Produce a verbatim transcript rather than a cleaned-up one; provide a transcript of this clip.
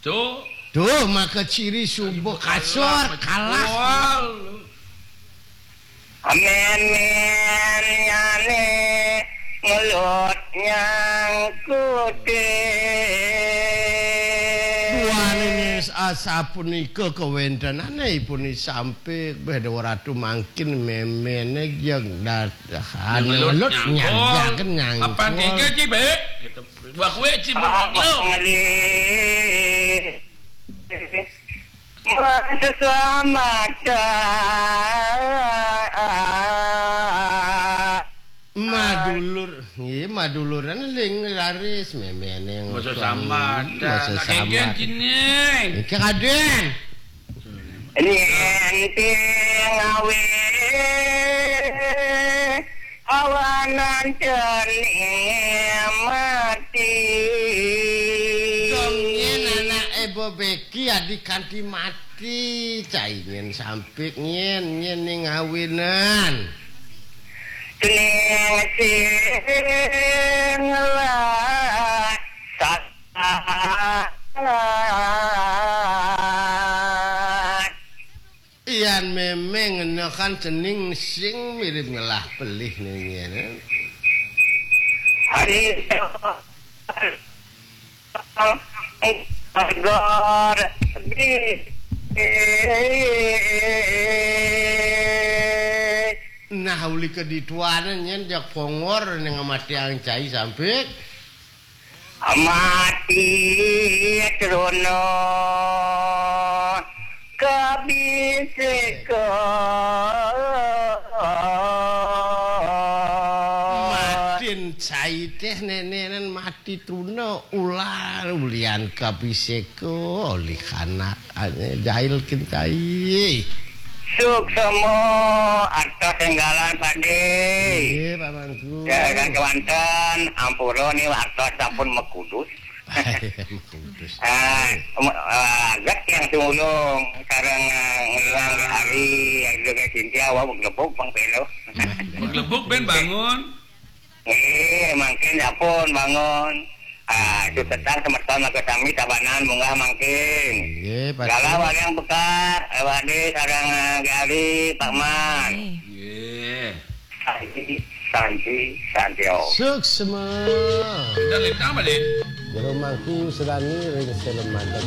Tuh. Tuh, maka ciri subuh kasor, kalah. Amen, men, nyane, ngelut, nyangkute. Duaning asapunika kawentenane ipun sampik, beh, Dewa Ratu mangkin memene jeg dat-, anu, ngelut, ngelut, nyangkul. Nyangkul, nyangkul. Apa tiga, Ci, Bek? Gitu. Wah, kowe, Ci, Apa bengok lo. Ngalih? Masa selamat. Madulur, nggih, maduluran ling laris memene. Masa selamat. Masa selamat. Kengken kini. Iki kaden. Yen ting awe awanan cening mati. Dong yen anake bebeki adi kanthi mati, cai nyen sampik nyen, nyen ning awinan. Cening sing lah salah. Yan memeng ngena kan cening sing mirip ngelah pelih ning ngene. Hari Gor di Nah, uli kedituanan nyen jak pongor ning mati ang cai sampik. Mati trono kabiseka. Matin cai teh nenenan mati truna ular ulian kabiseka olih anak ane jail kin cai. Suksema artos enggalan, Pade. Nggih, Pak Mangku. Ya, kan kewanten, ampura ni artos sampun mekudus. Mekudus. Ah, em-, ah, aget yang tumulung sareng, ah, ngelang hari, ada Sintia, wah, beglebuk, Bang Pelo. Beglebuk, ben bangun. Nggih, mangkin sampun bangun. Ah, sutetan semeton mangke sami tabanan munggah mangkin. Nggih, Pak. Galah waliang bekar, eh, Wadi sareng, eh, Gali, Pak Man. Nggih. Nggih. Santi, Santi, Santi, oh. Suksma. Pindah lintang balik. Jero mangku sedani ring seleman dan